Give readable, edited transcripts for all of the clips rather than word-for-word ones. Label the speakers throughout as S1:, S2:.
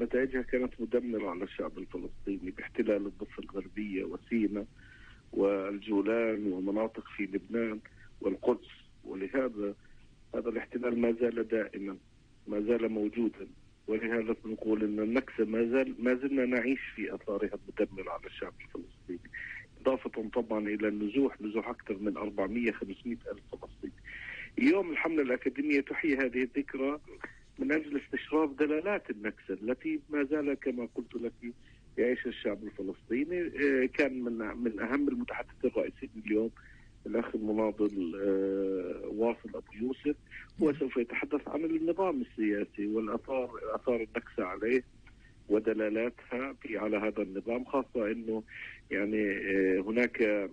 S1: ونتائجها كانت مدمرة على الشعب الفلسطيني باحتلال الضفة الغربية وسيناء والجولان ومناطق في لبنان والقدس. ولهذا هذا الاحتلال ما زال دائما، ما زال موجودا، ولهذا نقول ان النكسة ما زلنا نعيش في اثارها المدمرة على الشعب الفلسطيني، اضافة طبعا الى النزوح اكثر من 400-500 الف فلسطيني. اليوم الحملة الأكاديمية تحيي هذه الذكرى من أجل استشراف دلالات النكسة التي ما زال كما قلت لك يعيش الشعب الفلسطيني. كان من أهم المتحدثين الرئيسيين اليوم الأخ المناضل واصل أبو يوسف، هو سوف يتحدث عن النظام السياسي والآثار النكسة عليه ودلالاتها على هذا النظام، خاصة أنه يعني هناك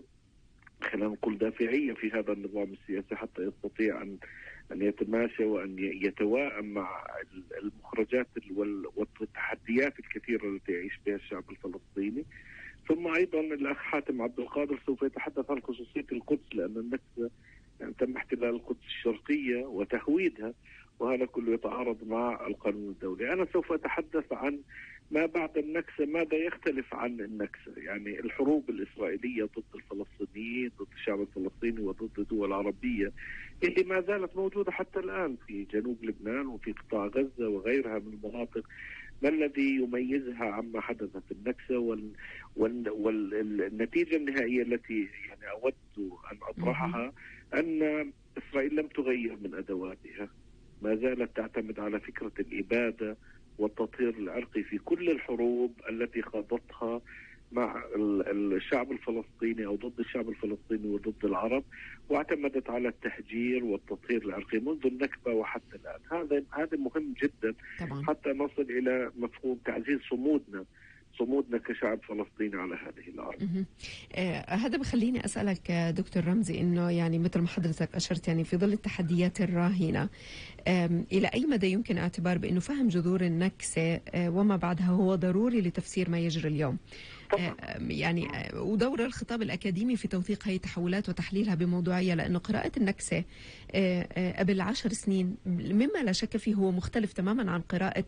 S1: خلينا نقول دافعية في هذا النظام السياسي حتى يستطيع أن يتماشى وأن يتواءم مع المخرجات والتحديات الكثيرة التي يعيش بها الشعب الفلسطيني. ثم أيضا الأخ حاتم عبد القادر سوف يتحدث عن خصوصية القدس، لأن النكسة يعني تم احتلال القدس الشرقية وتهويدها، وهذا كله يتعارض مع القانون الدولي. أنا سوف أتحدث عن ما بعد النكسة، ماذا يختلف عن النكسة، يعني الحروب الإسرائيلية ضد الفلسطينيين، ضد الشعب الفلسطيني وضد الدول العربية اللي ما زالت موجودة حتى الآن في جنوب لبنان وفي قطاع غزة وغيرها من المناطق. ما الذي يميزها عما حدث في النكسة والنتيجة النهائية التي يعني أود أن أطرحها أن إسرائيل لم تغير من أدواتها، ما زالت تعتمد على فكرة الإبادة والتطهير العرقي في كل الحروب التي خاضتها مع الشعب الفلسطيني أو ضد الشعب الفلسطيني وضد العرب، واعتمدت على التهجير والتطهير العرقي منذ النكبة وحتى الآن. هذا مهم جدا طبعا. حتى نصل إلى مفهوم تعزيز صمودنا كشعب فلسطيني على هذه الأرض.
S2: هذا بخليني أسألك دكتور رمزي إنه يعني مثل ما حضرتك أشرت، يعني في ظل التحديات الراهنة إلى أي مدى يمكن اعتبار بأنه فهم جذور النكسة وما بعدها هو ضروري لتفسير ما يجري اليوم؟ يعني ودور الخطاب الأكاديمي في توثيق هذه التحولات وتحليلها بموضوعية، لأنه قراءة النكسة قبل 10 سنين مما لا شك فيه هو مختلف تماما عن قراءة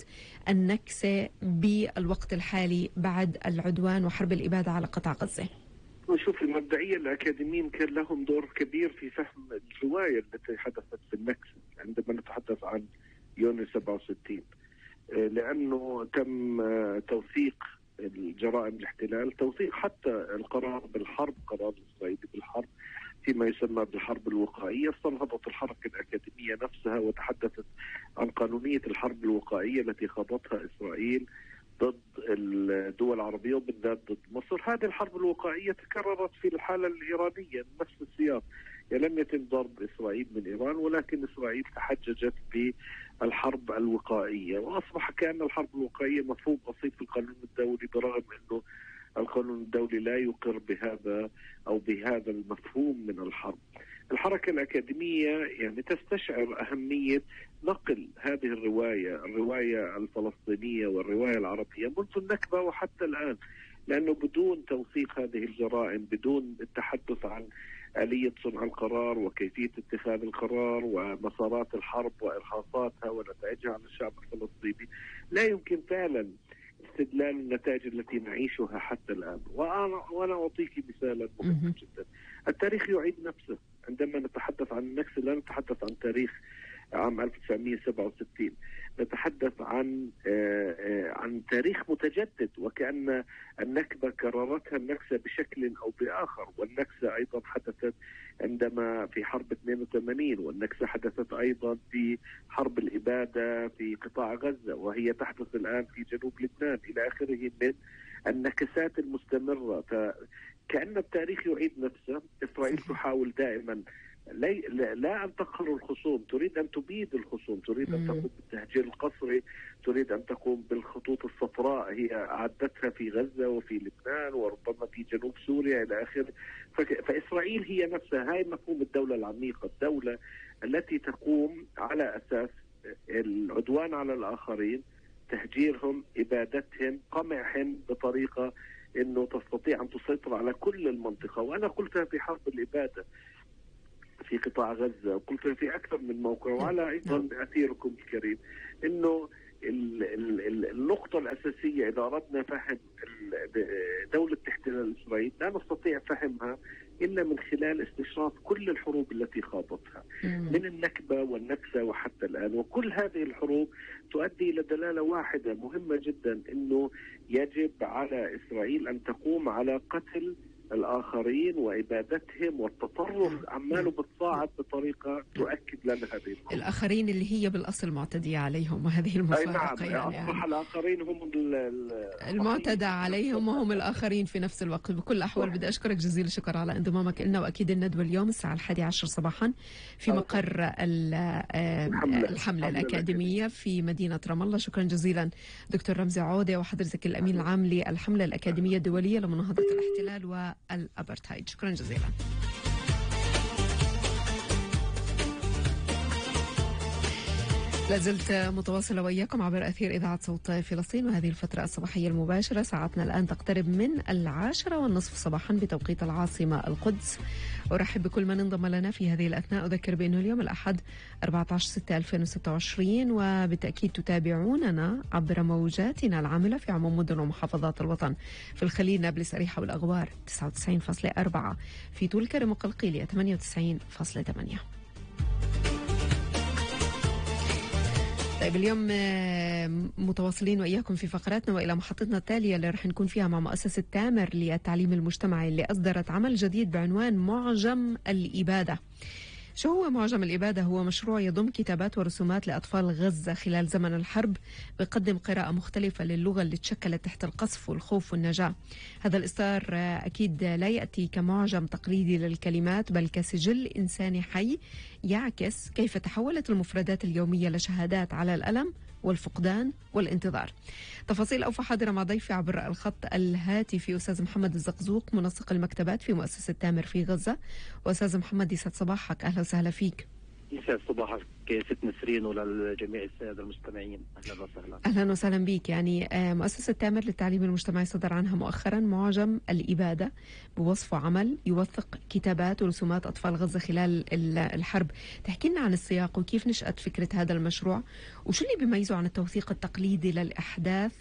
S2: النكسة بالوقت الحالي بعد العدوان وحرب الإبادة على قطاع غزة.
S1: نشوف المبدئية الأكاديميين كان لهم دور كبير في فهم الرواية التي حدثت في النكسة عندما نتحدث عن يونيو 67، لأنه تم توثيق الجرائم الاحتلال، توثيق حتى القرار بالحرب، قرار الإسرائيلي بالحرب فيما يسمى بالحرب الوقائية. استنهضت الحركة الأكاديمية نفسها وتحدثت عن قانونية الحرب الوقائية التي خاضتها إسرائيل ضد الدول العربية وبالذات ضد مصر. هذه الحرب الوقائية تكررت في الحالة الإيرانية نفس السياق، يعني لم يتم ضرب إسرائيل من إيران، ولكن إسرائيل تحججت بالحرب الوقائية، وأصبح كأن الحرب الوقائية مفهوم بسيط في القانون الدولي، برغم أنه القانون الدولي لا يقر بهذا المفهوم من الحرب. الحركة الأكاديمية يعني تستشعر أهمية نقل هذه الرواية الفلسطينية والرواية العربية منذ النكبة وحتى الآن، لأنه بدون توثيق هذه الجرائم، بدون التحدث عن آلية صنع القرار وكيفية اتخاذ القرار ومسارات الحرب وإرهاصاتها ونتائجها على الشعب الفلسطيني، لا يمكن فعلا استدلال النتائج التي نعيشها حتى الآن. وأنا أعطيك مثالا مهما جدا. التاريخ يعيد نفسه. عندما نتحدث عن النكسة لا نتحدث عن تاريخ عام 1967، نتحدث عن تاريخ متجدد، وكأن النكبة كررتها النكسة بشكل أو بآخر. والنكسة أيضا حدثت عندما في حرب 82، والنكسة حدثت أيضا في حرب الإبادة في قطاع غزة، وهي تحدث الآن في جنوب لبنان إلى آخره من النكسات المستمرة. كأن التاريخ يعيد نفسه. إسرائيل تحاول دائما لا أن تقهر الخصوم، تريد أن تبيد الخصوم، تريد أن تقوم بالتهجير القسري، تريد أن تقوم بالخطوط الصفراء هي أعدتها في غزة وفي لبنان وربما في جنوب سوريا إلى آخره. فإسرائيل هي نفسها، هاي مفهوم الدولة العميقة، الدولة التي تقوم على أساس العدوان على الآخرين، تهجيرهم، إبادتهم، قمعهم بطريقة أنه تستطيع أن تسيطر على كل المنطقة. وأنا قلتها في حرب الإبادة في قطاع غزة، وقلتها في أكثر من موقع، وعلى أيضا أثيركم الكريم، أنه النقطة الأساسية إذا أردنا فهم دولة احتلال إسرائيل لا نستطيع فهمها إلا من خلال استشراف كل الحروب التي خاضتها من النكبة والنكسة وحتى الآن. وكل هذه الحروب تؤدي إلى دلالة واحدة مهمة جدا، أنه يجب على إسرائيل أن تقوم على قتل الآخرين وإبادتهم، والتطرف عماله بتصاعد بطريقة تؤكد لنا هذه الأمور.
S2: الآخرين اللي هي بالأصل معتدية عليهم، وهذه المفارقة.
S1: نعم، أصبح الآخرين هم
S2: المعتدى عليهم وهم الآخرين في نفس الوقت. بكل الأحوال بدي أشكرك جزيل الشكر على انضمامك لنا، وأكيد الندوة اليوم الساعة 11 صباحا في مقر الحملة الأكاديمية في مدينة رام الله. شكرا جزيلا دكتور رمزي عودة، وحضرتك الأمين العام للحملة الأكاديمية الدولية لمناهضة الاحتلال والأبرتايد. شكرا جزيلا. لازلت متواصلة وإياكم عبر أثير إذاعة صوت فلسطين، وهذه الفترة الصباحية المباشرة ساعتنا الآن تقترب من 10:30 صباحا بتوقيت العاصمة القدس. أرحب بكل من انضم لنا في هذه الأثناء. أذكر بأنه اليوم الأحد 14/6/2026، وبالتأكيد تتابعوننا عبر موجاتنا العاملة في عموم مدن ومحافظات الوطن. في الخليل، نابلس، أريحة والأغوار 99.4، في طول كرم وقلقيلية 98.8. طيب اليوم متواصلين وإياكم في فقراتنا وإلى محطتنا التالية اللي رح نكون فيها مع مؤسسة تامر للتعليم المجتمعي، اللي أصدرت عمل جديد بعنوان معجم الإبادة. شو هو معجم الإبادة؟ هو مشروع يضم كتابات ورسومات لأطفال غزة خلال زمن الحرب، بيقدم قراءة مختلفة للغة اللي تشكلت تحت القصف والخوف والنجاة. هذا الإصدار أكيد لا يأتي كمعجم تقليدي للكلمات، بل كسجل إنساني حي يعكس كيف تحولت المفردات اليومية لشهادات على الألم والفقدان والانتظار. تفاصيل أوفى حاضرة مع ضيفي عبر الخط الهاتفي أستاذ محمد الزقزوق، منسق المكتبات في مؤسسة تامر في غزة. وأستاذ محمد، يسعد صباحك، أهلا وسهلا فيك.
S3: يسعد صباحك ست نسرين وللجميع السادة المستمعين، أهلا وسهلا.
S2: أهلا وسهلا بك. يعني مؤسسة تامر للتعليم المجتمعي صدر عنها مؤخرا معجم الإبادة، بوصفه عمل يوثق كتابات ورسومات أطفال غزة خلال الحرب. تحكي لنا عن السياق وكيف نشأت فكرة هذا المشروع، وشو اللي بيميزه عن التوثيق التقليدي للأحداث،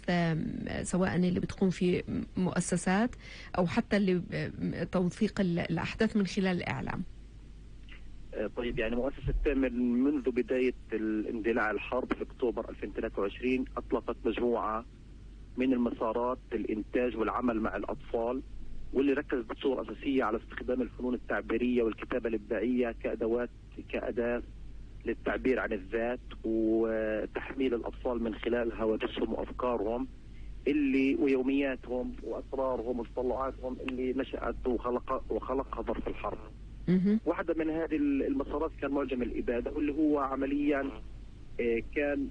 S2: سواء اللي بتقوم في مؤسسات أو حتى اللي توثيق الأحداث من خلال الإعلام.
S3: طيب، يعني مؤسسة تامر منذ بداية الاندلاع الحرب في أكتوبر 2023 أطلقت مجموعة من المسارات الإنتاج والعمل مع الأطفال، واللي ركزت بصورة أساسية على استخدام الفنون التعبيرية والكتابة الإبداعية كأداة للتعبير عن الذات، وتحميل الأطفال من خلال هواجسهم وأفكارهم ويومياتهم وأسرارهم وتطلعاتهم اللي نشأت وخلقها ظرف الحرب. واحدة من هذه المسارات كان معجم الإبادة، واللي هو عمليا كان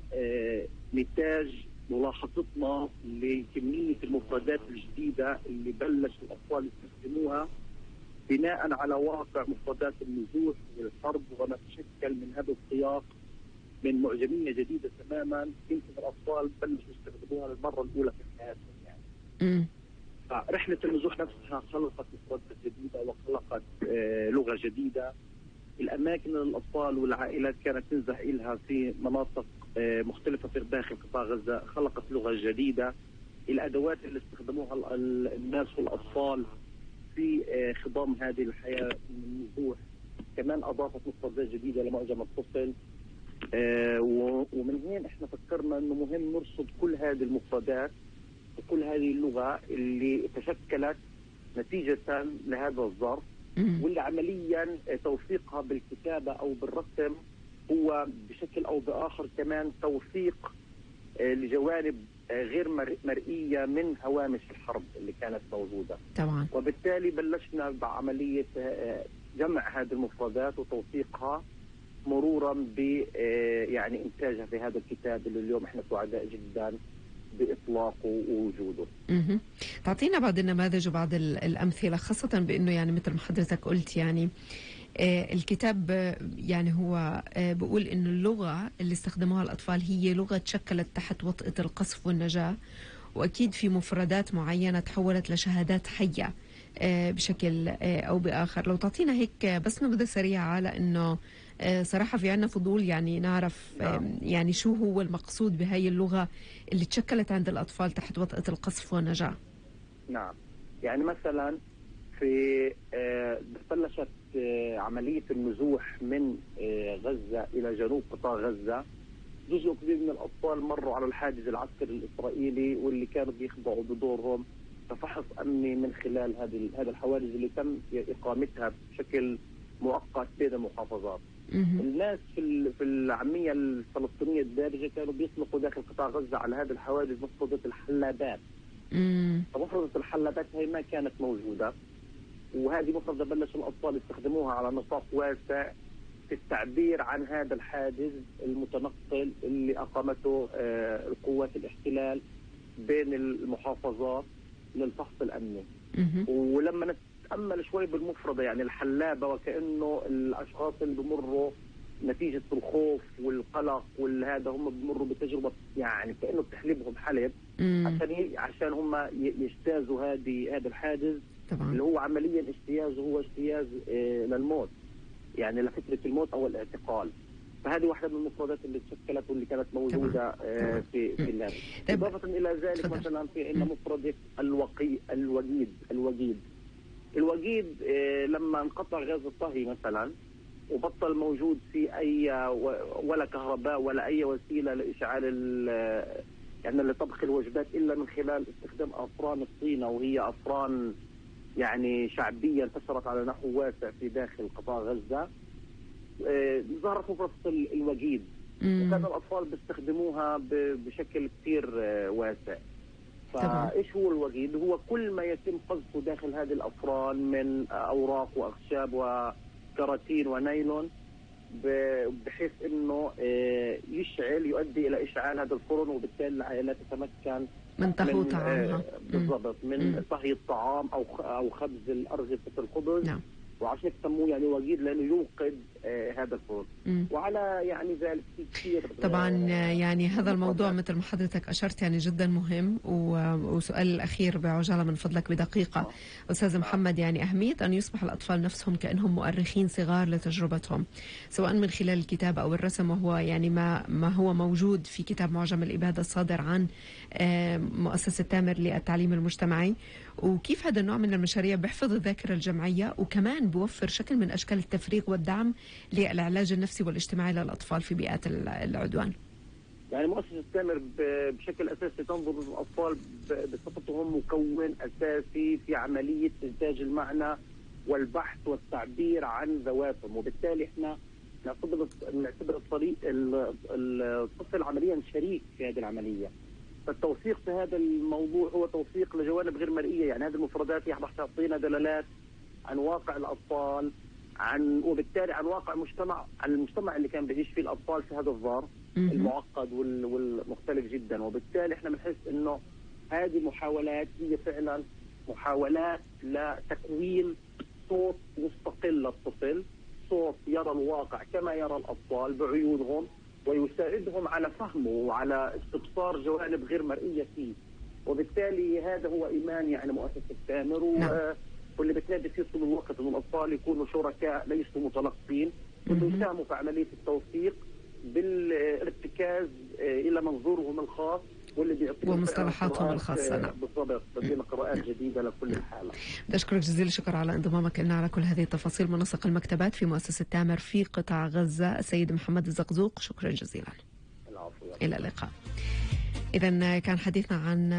S3: نتاج ملاحظتنا لكمية المفردات الجديدة اللي بلش الأطفال يستخدموها بناء على واقع مفردات النزوح والحرب، وما تشكل من هذا السياق من معجمية جديدة تماما يمكن الأطفال بلشوا يستخدموها للمرة الأولى في حياتهم. يعني رحلة النزوح نفسها خلقت مفردات جديدة وخلقت لغة جديدة. الأماكن للأطفال والعائلات كانت تنزح إلها في مناطق مختلفة في داخل قطاع غزة خلقت لغة جديدة. الأدوات اللي استخدموها الناس والأطفال في خضام هذه الحياة من النزوح كمان أضافت مفردات جديدة لمعجم الطفل. ومن هنا احنا فكرنا انه مهم نرصد كل هذه المفردات وكل هذه اللغة اللي تشكلت نتيجة لهذا الظرف، واللي عمليا توثيقها بالكتابة أو بالرسم هو بشكل أو بآخر كمان توثيق لجوانب غير مرئية من هوامش الحرب اللي كانت موجودة
S2: طبعا.
S3: وبالتالي بلشنا بعملية جمع هذه المفردات وتوثيقها مرورا ب يعني إنتاجها في هذا الكتاب اللي اليوم احنا سعداء جدا بإطلاقه ووجوده.
S2: تعطينا بعض النماذج وبعض الأمثلة، خاصة بأنه يعني مثل ما حضرتك قلت يعني الكتاب يعني هو بقول إنه اللغة اللي استخدموها الأطفال هي لغة تشكلت تحت وطأة القصف والنجاة، وأكيد في مفردات معينة تحولت لشهادات حية بشكل أو بآخر. لو تعطينا هيك بس نبذة سريعة، لأنه صراحة في عنا فضول يعني نعرف يعني شو هو المقصود بهاي اللغة اللي تشكلت عند الأطفال تحت وطأة القصف والنجاة.
S3: نعم، يعني مثلا في بلشت عملية النزوح من غزة إلى جنوب قطاع غزة. جزء كبير من الأطفال مروا على الحاجز العسكري الإسرائيلي، واللي كانوا بيخضعوا بدورهم كفحص أمني من خلال هذه الحواجز اللي تم إقامتها بشكل مؤقت بين المحافظات. الناس في العامية الفلسطينية الدارجة كانوا بيطلقوا داخل قطاع غزة على هذه الحواجز مفردة الحلابات. فمفردة الحلابات هي ما كانت موجودة، وهذه مفردة بلش الأطفال يستخدموها على نطاق واسع في التعبير عن هذا الحاجز المتنقل اللي أقامته القوات الاحتلال بين المحافظات للفحص الأمني. ولما نتأمل شوي بالمفردة، يعني الحلابة وكأنه الأشخاص اللي بمروا نتيجة الخوف والقلق والهذا هم بمروا بتجربة، يعني كأنه بتحلبهم حلب عشان هم يجتازوا هذا الحاجز طبعا. اللي هو عمليا اجتيازه هو اجتياز للموت، يعني لفكرة الموت أو الاعتقال. فهذه واحدة من المفردات اللي تشكلت واللي كانت موجودة في اللغة. إضافة إلى ذلك مثلا في عندنا مفردة الوقيد لما انقطع غاز الطهي مثلا وبطل موجود في أي ولا كهرباء ولا أي وسيلة لإشعال يعني لطبخ الوجبات إلا من خلال استخدام أفران الطينة، وهي أفران يعني شعبية انتشرت على نحو واسع في داخل قطاع غزة. ظهرت مفردة الوقيد، وكان الأطفال بيستخدموها بشكل كثير واسع. فإيش هو الوقيد؟ هو كل ما يتم قذفه داخل هذه الأفران من أوراق وأخشاب وكراتين ونايلون، بحيث إنه يؤدي إلى إشعال هذا الفرن، وبالتالي العائلات تتمكن
S2: من طهو طعامها
S3: بالضبط، من طهي الطعام أو خبز الأرغفة الخبز. نعم. وعشان يسموه يعني وقيد لأنه يوقد هذا الفرن. وعلى يعني ذلك كثير
S2: طبعا يعني هذا الموضوع مثل ما حضرتك أشرت يعني جدا مهم. وسؤال الأخير بعجالة من فضلك بدقيقة أستاذ محمد، يعني أهمية أن يصبح الأطفال نفسهم كأنهم مؤرخين صغار لتجربتهم، سواء من خلال الكتابة أو الرسم، وهو يعني ما هو موجود في كتاب معجم الإبادة الصادر عن مؤسسة تامر للتعليم المجتمعي. وكيف هذا النوع من المشاريع بيحفظ الذاكرة الجمعية، وكمان بوفر شكل من أشكال التفريغ والدعم للعلاج النفسي والاجتماعي للأطفال في بيئات العدوان.
S3: يعني مؤسسة تامر بشكل أساسي تنظر للأطفال بصفتهم مكون أساسي في عملية إنتاج المعنى والبحث والتعبير عن ذواتهم، وبالتالي احنا نعتبر الطفل عمليا شريك في هذه العملية. فالتوثيق في هذا الموضوع هو توثيق لجوانب غير مرئية، يعني هذه المفردات تعطينا دلالات عن واقع الأطفال، وبالتالي عن واقع المجتمع اللي كان بيعيش فيه الأطفال في هذا الظرف المعقد والمختلف جدا. وبالتالي احنا بنحس انه هذه محاولات هي فعلا محاولات لتكوين صوت مستقل للطفل، صوت يرى الواقع كما يرى الأطفال بعيونهم، ويساعدهم على فهمه وعلى استبصار جوانب غير مرئية فيه. وبالتالي هذا هو إيمان يعني مؤسسة تامر واللي بتنادي فيه طول الوقت إنه الأطفال يكونوا شركاء ليسوا متلقين، وإنه يساهموا في عملية التوثيق بالارتكاز إلى منظورهم الخاص واللي بيعطيهم
S2: ومصطلحاتهم الخاصة.
S3: نعم بالضبط، بدينا قراءات جديدة لكل الحالة.
S2: بشكرك جزيل الشكر على انضمامك لنا على كل هذه التفاصيل. منسق المكتبات في مؤسسة تامر في قطاع غزة السيد محمد الزقزوق، شكرا جزيلا.
S3: العفو.
S2: إلى اللقاء. إذا كان حديثنا عن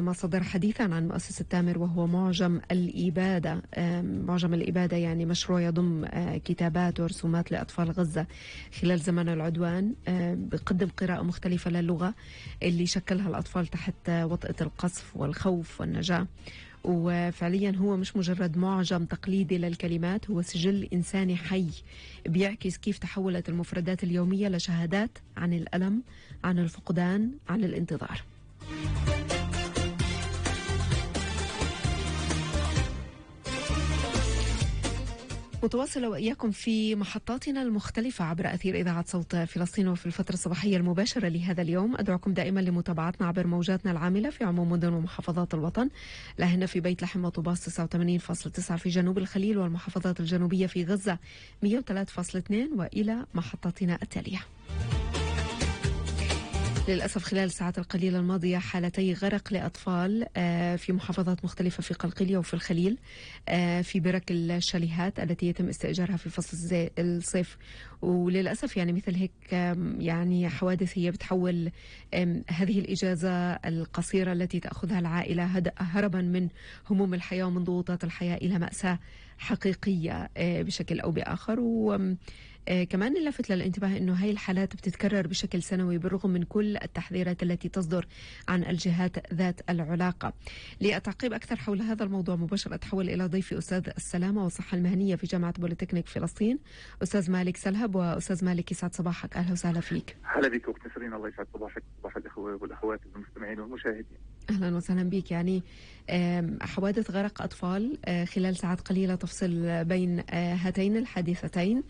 S2: ما صدر حديثا عن مؤسسة تامر، وهو معجم الإبادة. معجم الإبادة يعني مشروع يضم كتابات ورسومات لأطفال غزة خلال زمن العدوان، بقدم قراءة مختلفة للغة اللي شكلها الأطفال تحت وطأة القصف والخوف والنجاة. وفعليا هو مش مجرد معجم تقليدي للكلمات، هو سجل إنساني حي بيعكس كيف تحولت المفردات اليومية لشهادات عن الألم، عن الفقدان، عن الانتظار. متواصلة وإياكم في محطاتنا المختلفة عبر أثير إذاعة صوت فلسطين وفي الفترة الصباحية المباشرة لهذا اليوم. أدعوكم دائما لمتابعتنا عبر موجاتنا العاملة في عموم مدن ومحافظات الوطن، لهن في بيت لحم وطوباس 89.9 في جنوب الخليل والمحافظات الجنوبية في غزة 103.2 وإلى محطاتنا التالية. للأسف خلال الساعات القليلة الماضية حالتي غرق لأطفال في محافظات مختلفة في قلقلية وفي الخليل في برك الشاليهات التي يتم استئجارها في فصل الصيف. وللأسف يعني مثل هيك يعني حوادث هي بتحول هذه الإجازة القصيرة التي تأخذها العائلة هربا من هموم الحياة ومن ضغوطات الحياة إلى مأساة حقيقية بشكل أو بآخر. كمان نلفت للانتباه أنه هاي الحالات بتتكرر بشكل سنوي بالرغم من كل التحذيرات التي تصدر عن الجهات ذات العلاقة. للتعقيب أكثر حول هذا الموضوع مباشرة أتحول إلى ضيفي أستاذ السلامة والصحة المهنية في جامعة بوليتكنيك فلسطين أستاذ مالك سلهب. وأستاذ مالك يسعد صباحك، أهلا وسهلا فيك.
S4: هلا بك أخت نسرين، الله يسعد صباحك صباح الأخوة والأخوات المستمعين والمشاهدين.
S2: أهلا وسهلا بك. يعني حوادث غرق أطفال خلال ساعات قليلة تفصل بين هاتين الحادثتين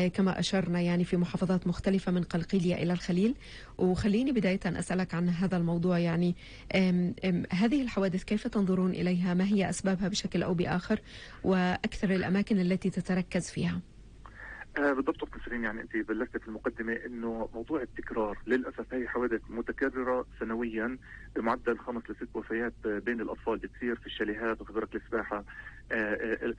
S2: كما أشرنا يعني في محافظات مختلفة من قلقيلية إلى الخليل. وخليني بداية أسألك عن هذا الموضوع، يعني هذه الحوادث كيف تنظرون إليها؟ ما هي أسبابها بشكل أو بآخر وأكثر الأماكن التي تتركز فيها؟
S4: بالضبط أخت نسرين، يعني أنت بلشت في المقدمة إنه موضوع التكرار للأسف هي حوادث متكررة سنويا بمعدل 5 ل 6 وفيات بين الأطفال بتصير في الشاليهات وفي برك السباحة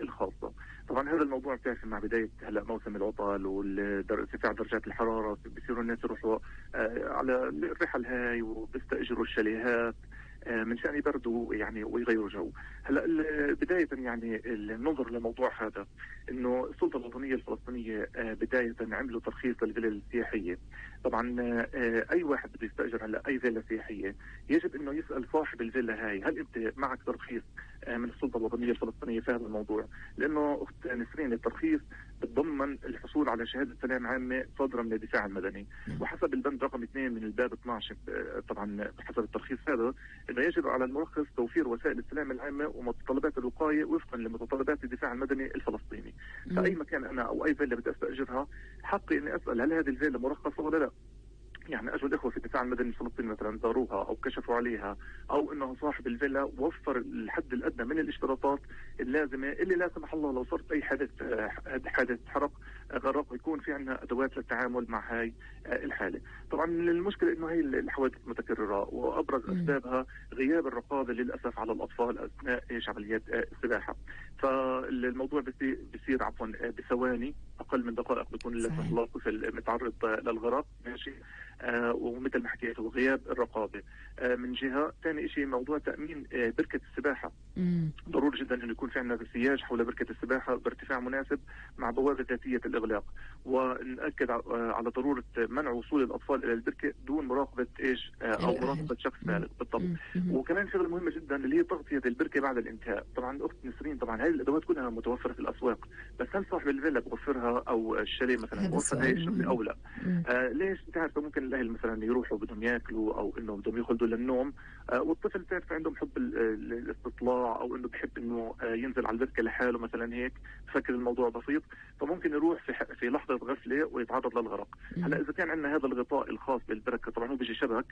S4: الخاصة. طبعا هذا الموضوع بتعرف مع بداية هلا موسم العطل وارتفاع درجات الحرارة بصيروا الناس يروحوا على الرحل هاي وبيستأجروا الشاليهات من شأن يبردوا يعني ويغيروا جو. هلا بداية يعني النظر لموضوع هذا انه السلطة الوطنية الفلسطينية بداية عملوا ترخيص للفلل السياحية. طبعا اي واحد بده يستأجر هلا اي فيلا سياحية يجب انه يسأل صاحب الفيلا هاي هل انت معك ترخيص من السلطة الوطنية الفلسطينية في هذا الموضوع، لانه اخت نسرين الترخيص بتضمن الحصول على شهادة سلام عامة صادرة من الدفاع المدني، وحسب البند رقم 2 من الباب 12 طبعا حسب الترخيص هذا انه يجب على المرخص توفير وسائل السلام العامة ومتطلبات الوقاية وفقا لمتطلبات الدفاع المدني الفلسطيني. فأي مكان أنا أو أي فيلا بدي أستأجرها حقي إني أسأل هل هذه الفيلا مرخصة ولا لا. يعني اجوا الاخوه في الدفاع المدني الفلسطيني مثلا زاروها او كشفوا عليها او انه صاحب الفيلا وفر الحد الادنى من الاشتراطات اللازمه اللي لا سمح الله لو صارت اي حادث حرق غرق يكون في عندنا ادوات للتعامل مع هاي الحاله. طبعا المشكله انه هي الحوادث متكرره وابرز اسبابها غياب الرقابه للاسف على الاطفال اثناء عمليات السباحه. فالموضوع بصير عفوا بثواني اقل من دقائق بيكون للاسف الله الطفل متعرض للغرق ماشي. ومثل ما حكيت وغياب الرقابه من جهه. ثاني شيء موضوع تامين بركه السباحه. ضروري جدا انه يكون في عندنا سياج حول بركه السباحه بارتفاع مناسب مع بوابه ذاتيه الاغلاق، ونأكد على ضروره منع وصول الاطفال الى البركه دون مراقبه ايش او مراقبه شخص بالغ بالضبط. وكمان شغله مهمه جدا اللي هي تغطيه البركه بعد الانتهاء. طبعا اخت نسرين طبعا هذه الادوات كلها متوفره في الاسواق، بس هل صاحب الفيلا بوفرها او الشاليه مثلا بوفر هاي الشغله او لا؟ ليش؟ بتعرف ممكن الاهل مثلا يروحوا بدهم ياكلوا او انه بدهم يخلدوا للنوم والطفل تعرف عندهم حب الاستطلاع او انه بحب انه ينزل على البركه لحاله مثلا هيك بفكر الموضوع بسيط، فممكن يروح في لحظه غفله ويتعرض للغرق. هلا اذا كان عندنا هذا الغطاء الخاص بالبركه طبعا هو بيجي شبك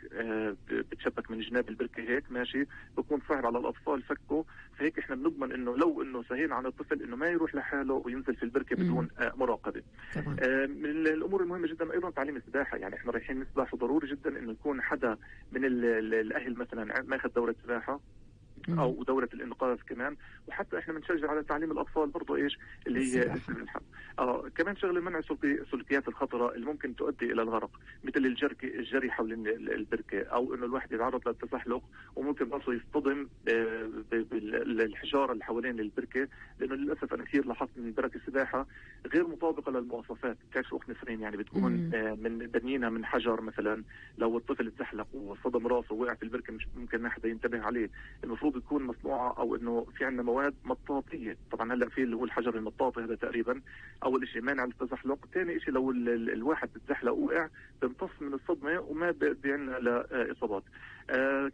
S4: بتشبك من جناب البركه هيك ماشي، بكون صعب على الاطفال فكه، فهيك احنا بنضمن انه لو انه سهينا عن الطفل انه ما يروح لحاله وينزل في البركه بدون مراقبه. من الامور المهمه جدا ايضا تعليم السباحه. يعني احنا رايحين نسبح وضروري جدا انه يكون حدا من الاهل مثلا ماخذ دوره سباحه او دوره الانقاذ كمان. وحتى احنا بنشجع على تعليم الاطفال برضه ايش اللي هي السباحه. كمان شغله منع السلوكيات الخطره اللي ممكن تؤدي الى الغرق مثل الجري حول البركه او انه الواحد يتعرض للتزحلق وممكن برضه يصطدم بالحجاره اللي حوالين البركه، لانه للاسف انا كثير لاحظت من برك السباحه غير مطابقه للمواصفات. بتعرف اخت نسرين يعني بتكون من بنينها من حجر مثلا، لو الطفل تزحلق وصدم راسه ووقع في البركه مش ممكن ما حدا ينتبه عليه. المفروض تكون مصنوعه او انه في عندنا مواد مطاطيه. طبعا هلا في اللي هو الحجر المطاطي هذا تقريبا اول شيء مانع للتزحلق. ثاني شيء لو الواحد بتزحلق وقع بيمتص من الصدمه وما بيدي عندنا لاصابات.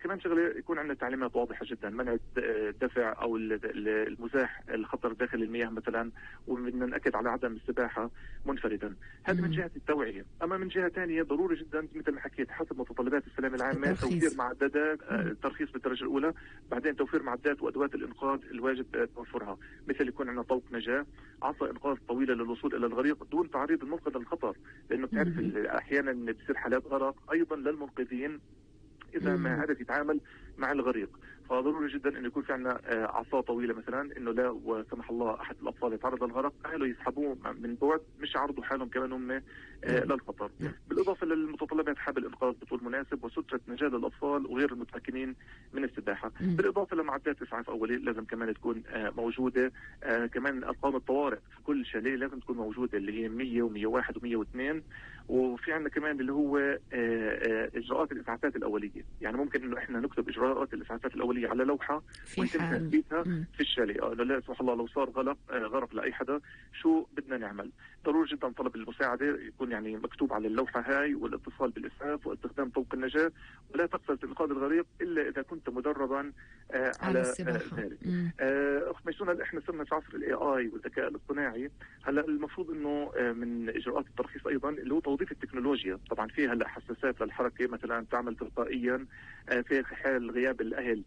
S4: كمان شغله يكون عندنا تعليمات واضحه جدا، منع الدفع او المزاح الخطر داخل المياه مثلا، وبدنا ناكد على عدم السباحه منفردا. هذا من جهه التوعيه. اما من جهه ثانيه ضروري جدا مثل ما حكيت حسب متطلبات السلامه العامه توفير معدات ترخيص بالدرجه الاولى، بعدين توفير معدات وادوات الانقاذ الواجب توفرها، مثل يكون عندنا طوق نجاه، عصا انقاذ طويله للوصول الى الغريق دون تعريض المنقذ للخطر، لانه بتعرف احيانا بتصير حالات غرق ايضا للمنقذين اذا ما عرف يتعامل مع الغريق. فضروري جدا انه يكون في عندنا عصا طويله مثلا، انه لا وسمح الله احد الاطفال يتعرض للغرق اهله يسحبوه من بعد، مش يعرضوا حالهم كمان هم للخطر. بالاضافه للمتطلبات حبل انقاذ بطول مناسب وستره نجاه للاطفال وغير المتمكنين من السباحه، بالاضافه لمعدات اسعاف اولي لازم كمان تكون موجوده. كمان ارقام الطوارئ في كل شاليه لازم تكون موجوده، اللي هي 100 و101 و102. وفي عندنا كمان اللي هو اجراءات الاسعافات الاوليه، يعني ممكن انه احنا نكتب اجراءات الاسعافات الاوليه على لوحه ويتم تثبيتها في الشاليه. لا سمح الله لو صار غرق لاي حدا شو بدنا نعمل. ضروري جدا طلب المساعده يكون يعني مكتوب على اللوحه هاي، والاتصال بالاسعاف واستخدام طوق النجاه، ولا تقصد انقاذ الغريق الا اذا كنت مدربا على ذلك. اخت ميسونه، احنا صرنا في عصر الاي اي والذكاء الاصطناعي. هلا المفروض انه من اجراءات الترخيص ايضا اللي هو توظيف التكنولوجيا. طبعا في هلا حساسات للحركه مثلا تعمل تلقائيا في حال غياب الاهل،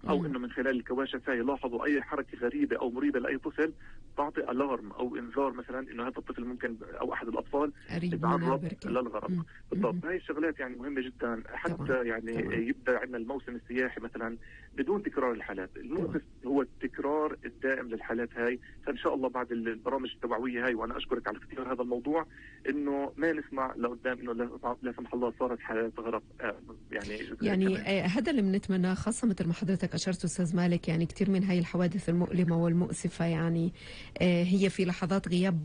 S4: او انه من خلال الكواشف يلاحظوا اي حركه غريبه او مريبه لاي طفل تعطي الارم او انذار مثلا انه هذا الطفل ممكن او احد الاطفال يتعرض للغرق. بالضبط. هاي الشغلات يعني مهمه جدا حتى طبعا. يعني طبعا. يبدا عندنا الموسم السياحي مثلا بدون تكرار الحالات. المؤسف هو التكرار الدائم للحالات هاي. فان شاء الله بعد البرامج التوعويه هاي، وانا اشكرك على اختيار هذا الموضوع، انه ما نسمع لقدام انه لا سمح الله صارت حالات غرق.
S2: يعني هذا اللي بنتمناه، خاصه مثل ما حضرتك اشرت استاذ مالك. يعني كثير من هاي الحوادث المؤلمه والمؤسفه يعني هي في لحظات غياب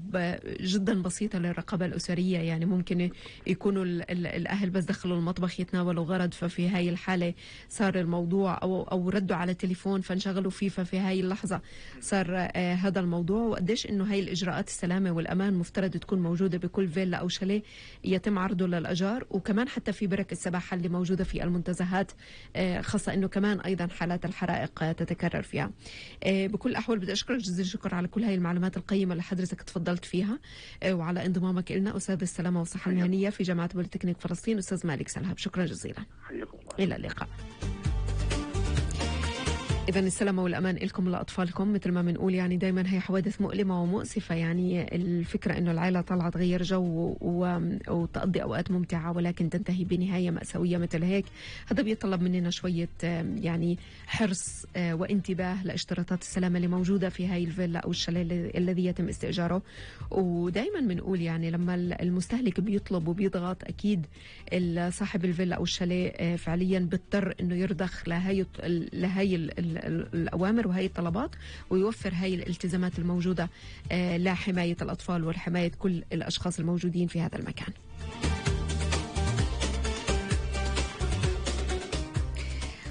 S2: جدا بسيطه للرقابه الاسريه. يعني ممكن يكونوا الاهل بس دخلوا المطبخ يتناولوا غرض، ففي هاي الحاله صار الموضوع او ردوا على التليفون فانشغلوا فيه، ففي هاي اللحظه صار هذا الموضوع. وقديش انه هاي الاجراءات السلامه والامان مفترض تكون موجوده بكل فيلا او شاليه يتم عرضه للاجار، وكمان حتى في برك السباحه اللي موجوده في المنتزهات، خاصه انه كمان ايضا حالات الحرائق تتكرر فيها. بكل الأحوال بدي أشكرك جزيل الشكر على كل هاي المعلومات القيمة اللي حضرتك تفضلت فيها، وعلى انضمامك لنا أستاذ السلامة والصحة المهنية في جامعة بوليتكنيك فلسطين أستاذ مالك سلهب. شكرا جزيلا. إلى اللقاء. إذا السلامة والأمان لكم لأطفالكم. مثل ما بنقول يعني دايما هي حوادث مؤلمة ومؤسفة. يعني الفكرة إنه العائلة طلعت تغير جو وتقضي أوقات ممتعة، ولكن تنتهي بنهاية مأساوية مثل هيك. هذا بيطلب مننا شوية يعني حرص وانتباه لاشتراطات السلامة اللي موجودة في هاي الفيلا أو الشاليه الذي يتم استئجاره. ودايما بنقول يعني لما المستهلك بيطلب وبيضغط، أكيد صاحب الفيلا أو الشاليه فعليا بيضطر إنه يرضخ لهاي الأوامر وهي الطلبات، ويوفر هاي الالتزامات الموجودة لحماية الأطفال وحماية كل الأشخاص الموجودين في هذا المكان.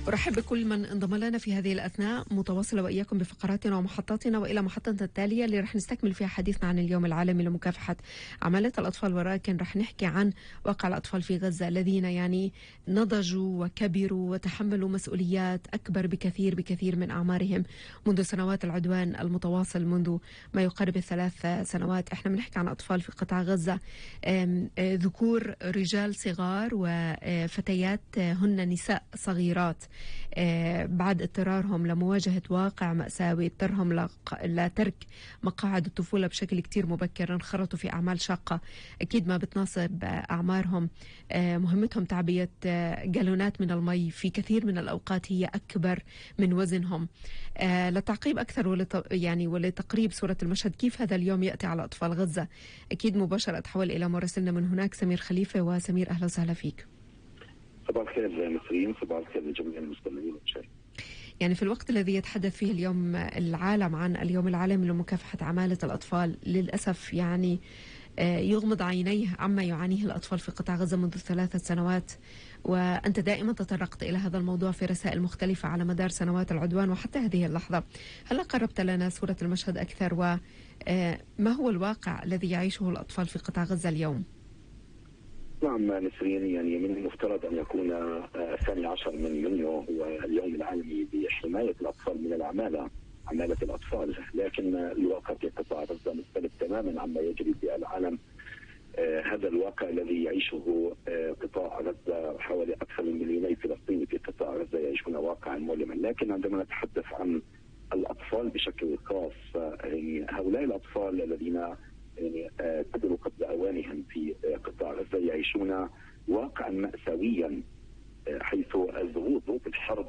S2: أرحب بكل من انضم لنا في هذه الأثناء، متواصلة وإياكم بفقراتنا ومحطاتنا، وإلى محطتنا التالية اللي رح نستكمل فيها حديثنا عن اليوم العالمي لمكافحة عمالة الأطفال. ولكن رح نحكي عن واقع الأطفال في غزة الذين يعني نضجوا وكبروا وتحملوا مسؤوليات أكبر بكثير من أعمارهم منذ سنوات العدوان المتواصل، منذ ما يقارب 3 سنوات. احنا بنحكي عن أطفال في قطاع غزة، ذكور رجال صغار وفتيات هن نساء صغيرات، بعد اضطرارهم لمواجهة واقع مأساوي اضطرهم لترك مقاعد الطفولة بشكل كتير مبكر، انخرطوا في أعمال شاقة أكيد ما بتناسب أعمارهم. مهمتهم تعبية جالونات من المي في كثير من الأوقات هي أكبر من وزنهم. لتعقيب أكثر ولتقريب صورة المشهد كيف هذا اليوم يأتي على أطفال غزة، أكيد مباشرة أتحول إلى مراسلنا من هناك سمير خليفة. وسمير أهلا وسهلا فيك.
S5: صباح الخير نسرين، صباح الخير لجميع المستمعين.
S2: يعني في الوقت الذي يتحدث فيه اليوم العالم عن اليوم العالمي لمكافحة عمالة الأطفال، للأسف يعني يغمض عينيه عما يعانيه الأطفال في قطاع غزة منذ 3 سنوات. وأنت دائما تطرقت إلى هذا الموضوع في رسائل مختلفة على مدار سنوات العدوان وحتى هذه اللحظة. هل قربت لنا صورة المشهد أكثر، وما هو الواقع الذي يعيشه الأطفال في قطاع غزة اليوم؟
S5: نعم نسرين، يعني من المفترض أن يكون 12 من يونيو هو اليوم العالمي لحماية الأطفال من العمالة، عمالة الأطفال، لكن الواقع في قطاع غزة مختلف تماما عما يجري في العالم. هذا الواقع الذي يعيشه قطاع غزة، حوالي أكثر من 2 مليون فلسطيني في قطاع غزة يعيشون واقعا مؤلما. لكن عندما نتحدث عن الأطفال بشكل خاص، يعني هؤلاء الأطفال الذين يعني قدروا قبل أوانهم في قطاع غزة يعيشون واقعا مأساويا، حيث ظروف الحرب